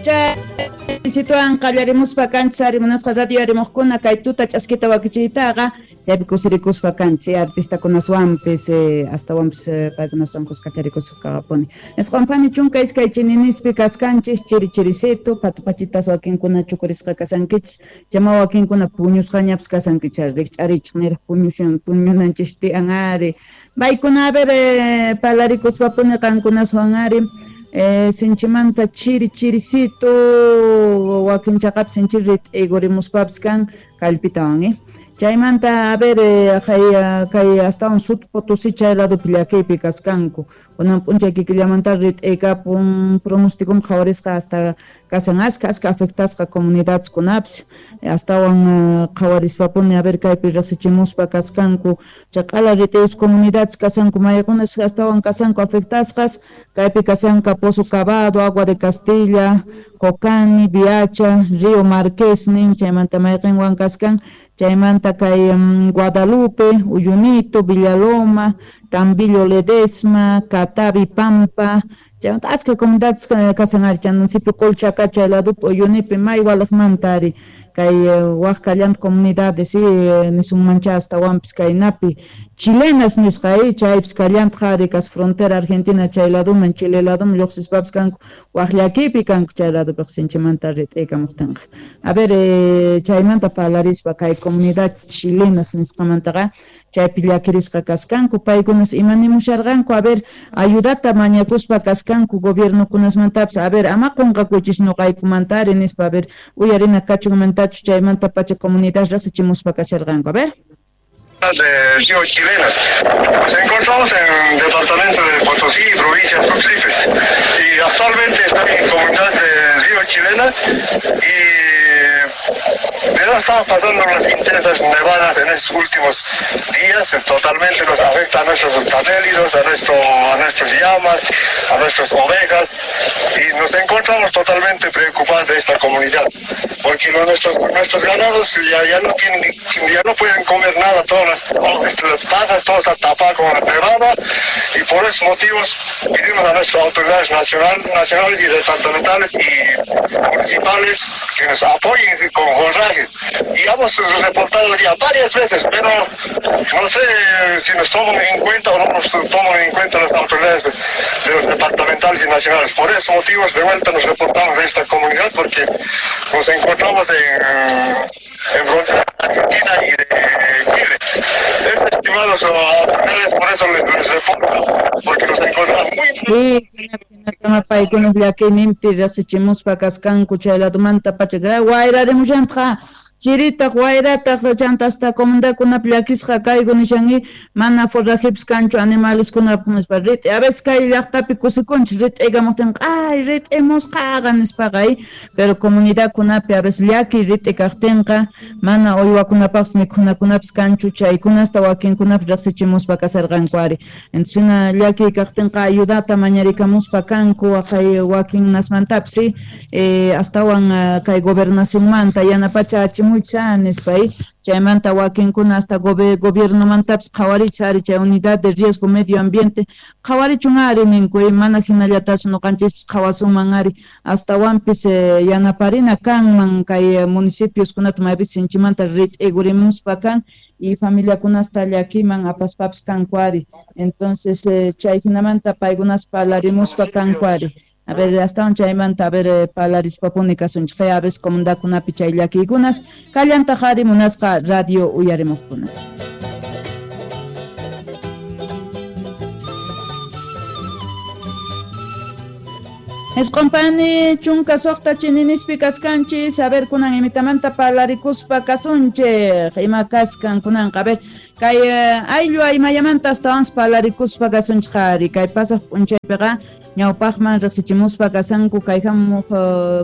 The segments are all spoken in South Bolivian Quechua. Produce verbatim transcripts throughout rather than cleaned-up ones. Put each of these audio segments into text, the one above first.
Chay qallarimuspa kanchis ari munasqa radio arimuqkuna kay tuta ch'askita wakichiytaqa chaypi kusirikuspa kanchis artistakunaswanpis astawanpis paykunaswan kuskacharikuspa kaqapuni. Isqunpani chunka iskay chininispi kaskanchis chiri chirisitu patupachitas wakinkuna chukurisqa kasankichis chama wakinkuna puñusqañapis kasankichis rikch'arichik niraq puñushan puñunanchis tiyan ari paykuna a ver parlarikuspapuni qankunaswan ari Eh, sinchimanta chiri chirisito wakin chaqap sinchi rit'igurimuspapis kan kallpitawan eh chaymanta a ver eh, kay astawan Sut Potosí chay ladopi llakiypi kaskanku kunan p'unchay kikillamanta rit'ikapun pronosticom qhawarisqa hasta kasan aska aska afectasqa comunidadeskunapis astawan qhawarispapuni a ver kaypi riqsichimuspa kaskanku chaq'ala rit'iyus comunidades kasanku maykunas astawan kasanku afectasqas kaypi kasanka Pozo Cavado, Agua de Castilla, Cocani, Viacha, Río Marqués nin chaymanta mayqinwan kaskan chaymanta kay um, Guadalupe, Uyunito, Villaloma, Tambillo Ledesma, Catavi Pampa, chaymanta aska comunidades kasan ari chay municipio Colchaca chay ladopi Uyunipi may walaqmanta ari kay waj kallanta comunidades nisunmancha astawanpis kaynapi chilenas nisqa chaypis kallanta ari kas frontera Argentina chay ladoman Chile ladoman lluqsispapis kanku waj llakipi kanku chay ladopiqa sinchimanta rit'ikamuqtinqa a ver eh, chaymanta parlarispa kay comunidad chilenas nisqamantaqa chaypi llakirisqa kaskanku paykunas ima nimusharqanku a ver ayudata mañakuspa kaskanku gobiernokunasmantapis a ver ama qunqakuychis ñuqaykumanta ari nispa a ver uyarina kachunmantachus chaymanta pacha comunidad riqsichimuspa kasharqanku a ver de Río Chilenas. Nos encontramos en el departamento de Potosí, provincia de Sucre, y actualmente estamos en comunidad de Río Chilenas y de estamos pasando unas intensas nevadas en estos últimos días, totalmente nos afecta a nuestros camélidos, a, nuestro, a nuestras llamas, a nuestras ovejas, y nos encontramos totalmente preocupados de esta comunidad, porque nuestros, nuestros ganados ya, ya, no tienen, ya no pueden comer nada, todas las, las pajas, todo está tapado con la nevada, y por esos motivos pedimos a nuestras autoridades nacional, nacionales y departamentales y municipales que nos apoyen con forrajes. Y hemos reportado ya varias veces, pero no sé si nos toman en cuenta o no nos toman en cuenta las autoridades de los departamentales y nacionales. Por esos motivos de vuelta nos reportamos de esta comunidad porque nos encontramos en, en frontera Argentina y de Chile. Es, estimados autoridades, por eso les, les reporto, porque nos encontramos muy... Sí, paykunaq llakiyninpi riqsichimuspa kaskanku chay ladomanta pacha wayrarimushantqa chiritaq wayrataq chanta hasta comunidadkunapi llakisqa kayku nishanki mana forrajipis kanchu animaleskunapaq nispa rit'i a veces kay llaqtapi kusikunchis rit'ikamuqtinqa ay rit'imusqaqa nispaqa pero comunidadkunapi a veces llaki rit'i kaqtinqa mana uywakunapaqpis mikhunakunapis kanchu chaykunasta wakinkunapis riqsichimuspa kasarqanku ari entonces llaki kaqtinqa ayudata mañarikamuspa kanku waqay wakinnasmantapis eh, astawan kay gobernacionmanta yanapacha achimu nispa chaymanta wakinkuna hasta gobiernomantapis qhawarichis ari chay unidad de riesgo medio ambiente qhawarichun ari ninku mana hinallatachu ñuqanchispis qhawasunman ari astawanpis eh, yanaparina kanman kay municipioskunata maypis sinchimanta rit'igurimuspa kan y familiakunasta llakiman apaspapis kanku ari entonces eh, chay hinamanta paykunas parlarimuspa kanku ari a ver, astawan chaymanta a ver eh, parlarispapuni kasunchik a veces comunidadkunapi chay llakiykunas kallantaq ari munasqa radio uyarimuqkuna. Esqunpani chunka suqta chininispi kaskanchis a ver kunan imitamanta parlarikuspa kasunchik ima kaskan kunanqa a ver kay ayllu aymayamanta astawan parlarikuspa kasunchik ari kay pasaq p'unchaypiqa ñawpaqman riqsichimuspa kasanku kay hamuq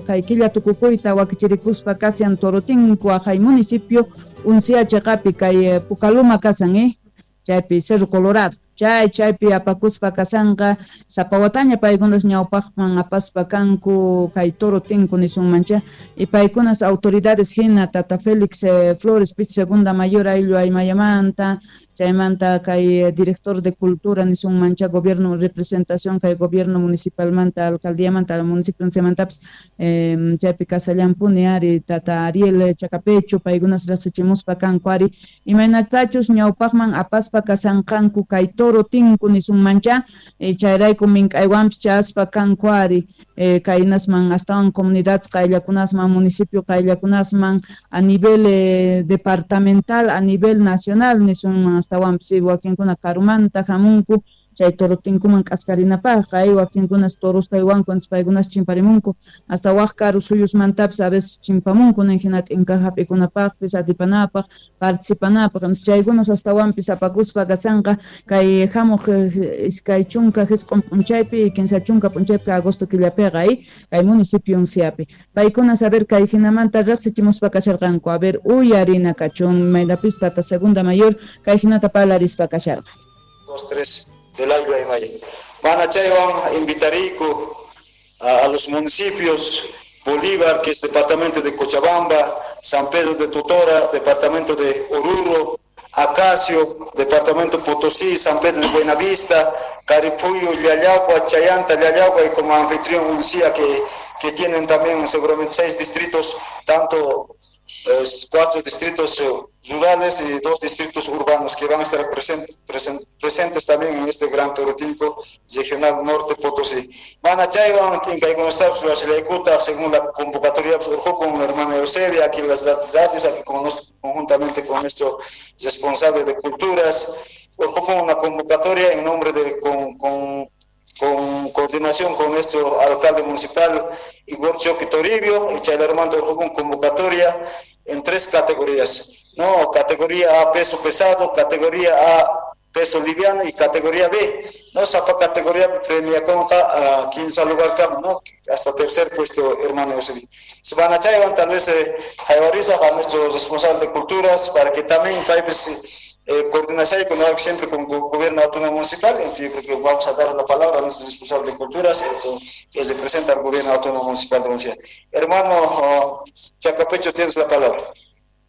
kay killa tukukuyta wakichirikuspa kasian Torotinku aqhay municipio Uncia chaqapi kay Pucaluma kasan eh chaypi Cerro Colorado chay chaypi apakuspa kasanqa sapa wataña paykunas ñawpaqman apaspa kanku kay Torotinku nisunmancha y paykunas autoridades hina Tata Félix eh, Flores pich segunda mayor ayllu aymayamanta Chaymanta kay director de cultura nisunmancha gobierno representación kay gobierno municipalmanta alcaldíamanta municipio unsiamantapis eh, chaypi kasallampuni ari tata Ariel Chacapecho paykunas riqsichimuspa kanku ari imaynatachus ñawpaqman apaspa kasanqanku kay toro tinku nisunmancha eh, chayrayku mink'aywanpis chaspa kanku ari eh, kaynasman astawan comunidades qayllakunasman municipio qayllakunasman a nivel eh, departamental a nivel nacional nisunman astawanpis wakinkuna karumanta hamunku chay toro tinkuman k'askarinapaqqa ay wakinkunas toros paywanku antes paykunas chimparimunku hasta waj karu suyusmantapis a veces chimpamunku nin hina t'inka hap'ikunapaqpis atipanapaq participanapaq entonces chaykunas astawanpis apakuspa kasanqa kay hamuq iskay chunka jisq'un p'unchaypi kinsa chunka p'unchaypi agosto killapiqa ay kay municipio Unciapi paykunas a ver kay hinamanta riqsichimuspa kasharqanku a ver uyarina kachun maynapis tata segunda mayor kay hinata parlarispa kasharqa. Dos, tres del Ayllu Aymaya. Van a chaywan invitariku a, a los municipios Bolívar, que es departamento de Cochabamba, San Pedro de Totora, departamento de Oruro, Acacio, departamento Potosí, San Pedro de Buenavista, Caripuyo, Llallagua, Chayanta, Llallagua y como anfitrión Uncía, que, que tienen también seguramente seis distritos, tanto eh, cuatro distritos eh, rurales y dos distritos urbanos que van a estar present, present, presentes también en este gran Torotinco regional norte Potosí. Van a chaywan, según la convocatoria con la hermana Eusebia, aquí las radios, aquí con nuestro, conjuntamente con nuestro responsable de culturas, con una convocatoria en nombre de con, con con coordinación con nuestro alcalde municipal Igor Choque Toribio, y Chaylarmando con convocatoria en tres categorías, ¿no? Categoría A peso pesado, categoría A peso liviano y categoría B, ¿no? Esa categoría premia conta a quince lugar, ¿no? Hasta tercer puesto, hermano Eusebio. Se van a Chaywan, tal vez eh, a nuestro responsable de culturas, para que también países Eh, coordinación con, siempre con el gobierno autónomo municipal, en sí, creo que vamos a dar la palabra a nuestro responsable de culturas, eh, que representa al gobierno autónomo municipal de Uncía. Hermano oh, Chacapecho, tienes la palabra.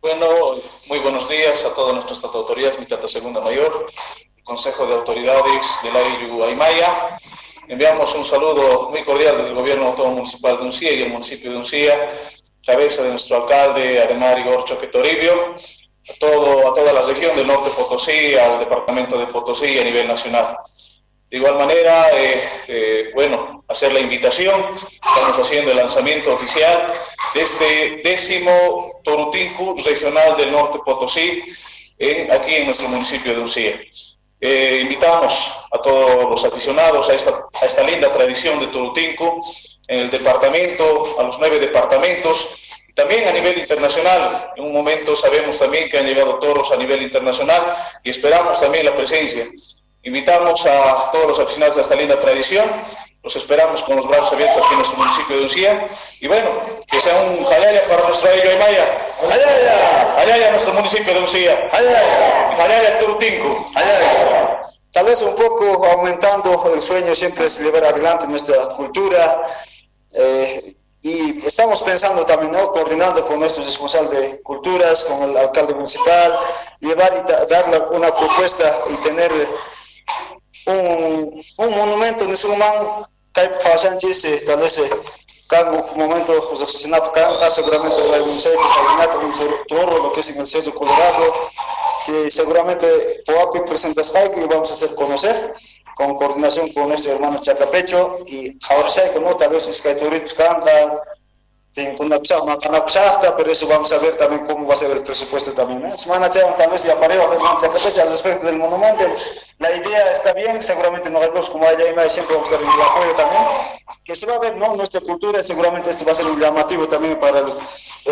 Bueno, muy buenos días a todas nuestras autoridades, mi tata segunda mayor, el Consejo de Autoridades del Ayllu Aymaya. Enviamos un saludo muy cordial desde el gobierno autónomo municipal de Uncía y el municipio de Uncía, cabeza de nuestro alcalde, Ademar Igor Choque Toribio, a, todo, a toda la región del norte Potosí, al departamento de Potosí a nivel nacional. De igual manera, eh, eh, bueno, hacer la invitación, estamos haciendo el lanzamiento oficial de este décimo Torutinku regional del norte Potosí, en, aquí en nuestro municipio de Uncía. Eh, invitamos a todos los aficionados a esta, a esta linda tradición de Torutinku en el departamento, a los nueve departamentos, también a nivel internacional. En un momento sabemos también que han llegado toros a nivel internacional y esperamos también la presencia. Invitamos a todos los aficionados a esta linda tradición, los esperamos con los brazos abiertos aquí en nuestro municipio de Uncía. Y bueno, que sea un jalaya para nuestro Ayllu Aymaya. ¡Jalaya! ¡Jalaya nuestro municipio de Uncía! ¡Jalaya! ¡Jalaya Torutinku! ¡Jalaya! Tal vez un poco aumentando el sueño siempre es llevar adelante nuestra cultura. Eh, Y estamos pensando también, ¿no?, coordinando con nuestro responsable de culturas, con el alcalde municipal, llevar y dar una propuesta y tener un, un monumento en ese momento, tal vez un momento, seguramente un toro, lo que es en el Cerro Colorado, que seguramente Poapi presentas algo y vamos a hacer conocer, con coordinación con nuestro hermano Chacapecho y Jaurshaico, ¿no? Tal vez es que Canta, pero eso vamos a ver también cómo va a ser el presupuesto también, ¿eh? Semana tal vez ya pareo, hermano Chacapecho, al respecto del monumento, la idea está bien, seguramente nosotros como Aymaya siempre vamos a dar el apoyo también, que se va a ver, ¿no?, nuestra cultura, seguramente esto va a ser un llamativo también para el,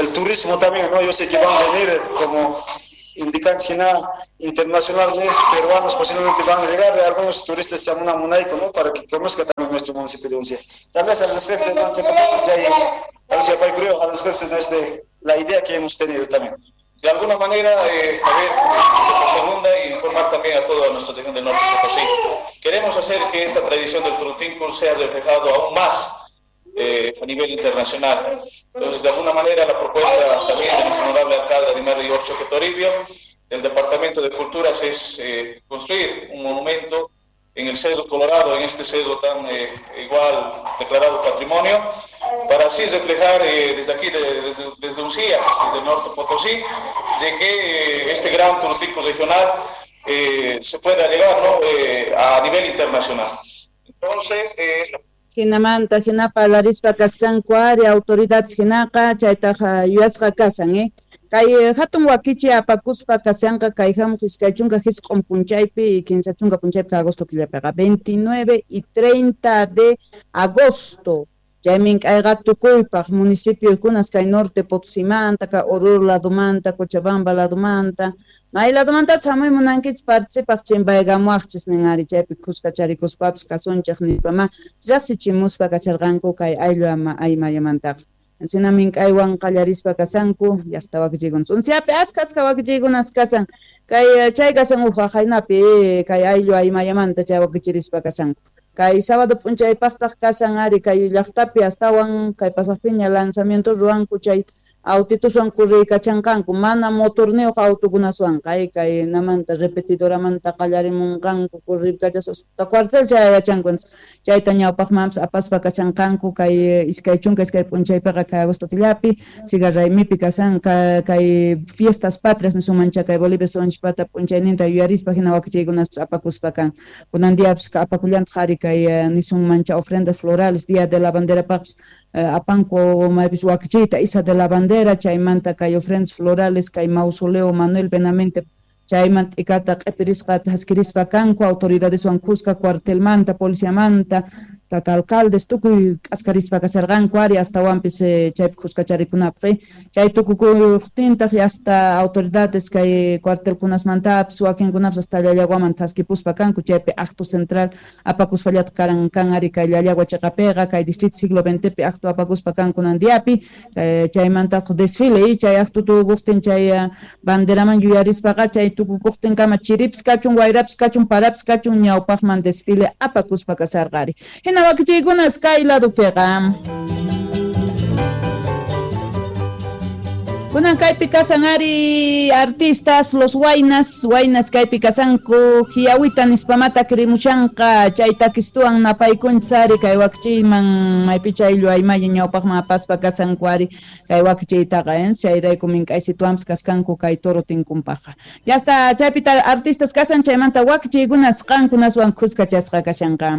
el turismo también, ¿no? Yo sé que van a venir como indican China internacional, peruanos posiblemente van a llegar, algunos turistas se llaman a Munaico, ¿no?, para que conozca también nuestro municipio de Uncía. Tal vez al respecto, al respecto de este, la idea que hemos tenido también. De alguna manera, eh, a ver, segunda y informar también a toda nuestra región del norte de Potosí. Queremos hacer que esta tradición del Torutinku sea reflejado aún más eh, a nivel internacional. Entonces, de alguna manera, la propuesta también de nuestro honorable alcalde Adimar Choque Toribio, del Departamento de Culturas, es eh, construir un monumento en el Cerro Colorado, en este cerro tan eh, igual declarado patrimonio, para así reflejar eh, desde aquí, de, desde, desde Uncía, desde el norte Potosí, de que eh, este gran turístico regional eh, se pueda llegar, ¿no?, eh, a nivel internacional. Entonces, eh, Jinamanta, jinapa, larispa, kaskanku ari, autoridades jinaqa, chaytaqa yuyasqa kasan, eh. Kay hatun wakichi apakuspa kasanqa kay hamuq iskay chunka hisq'un punchaypi y kinsa chunka punchaypi agosto killapiqa veintinueve y treinta de agosto. Chaymin kayqa tukuypaq municipiokunas kay norte Potosimanta, kay Oruro ladumanta, Cochabamba ladumanta, may ladumanta hamuy munankichis participaq chimpaykamuwaqchis nin ari chaypi khuskacharikuspapas kasunchik nispama riqsichimuspa kacharqanku kay ayllu aymayamantaqa. Encina mink'aywan qallarispa kasanku, yasta wakichiykunas. Unciapi askha askha wakichiykunas kasan. Kay chay kasan uj waqaynapi kay ayllu aymayamanta chay wakichirispa kasanku. Kay sábado p'unchaypaqtaq kasan ari kay llaqtapi astawan kay pasaqpiña lanzamiento ruwanku chay autituswan kurriykachanqanku mana motorniyuq autokunaswan kay kay namanta repetidoramanta qallarimunqanku kurriykachas cuartel chayachanku chayta ñawpaqmanpas apaspa kachanqanku kay iskay chunka iskay p'unchaypiqa kay agosto killapi sigarraymipi kasan kay fiestas patrias nisunmancha kay Bolivia sunchpata p'unchayninta yuyarispa hina wakichiykunaspas apakuspa kan kunan diapas apakullantaq ari kay nisunmancha ofrendas florales día de la banderapaqpas apanku maypis wakichiyta isa de la bandera chaymanta kay ofrendas florales kay mausoleo Manuel Benamente chayman t'ikata q'ipirisqa thaskirispa kanku autoridadeswan khuska cuartelmanta policiamanta tata alcaldes tukuy k'askarispa kasharqanku ari astawanpis chaypi khuskacharikunapaq chay tukukuqtintaq hasta autoridades kay cuartelkunasmantapis wakinkunapas hasta Llallaguaman thaskipuspa kanku chaypi acto central apakuspallataq karan kan ari kay Llallagua chiqapiqa kay distrito siglo veintepi acto apakuspa kanku nandiapi chaymantaq desfile chay acto tukukuqtin chay banderaman yuyarispaqa chay tukukuqtinkama chiripis kachun wayrapis kachun parapis kachun ñawpaqman desfile apakuspa kasarqa ari. Hina wakichiykunas kay ladupiqa. Kunan kaypi kasan ari artistas, los waynas, waynas kaypi kasanku, hiawita nispamata krimushanqa, chay takistuwan napaykunchis ari kay wakichiyman maypicha ayllu aymaya ñawpaqman apaspa kasanku ari kay wakichiytaqa, eh, chayrayku mink'aysituwanpas kaskanku kay toro tinkunpaqqa. Ya hasta chaypita artistas kasan chaymanta wakichiykunas qankunaswan khuskachasqa kashanqa.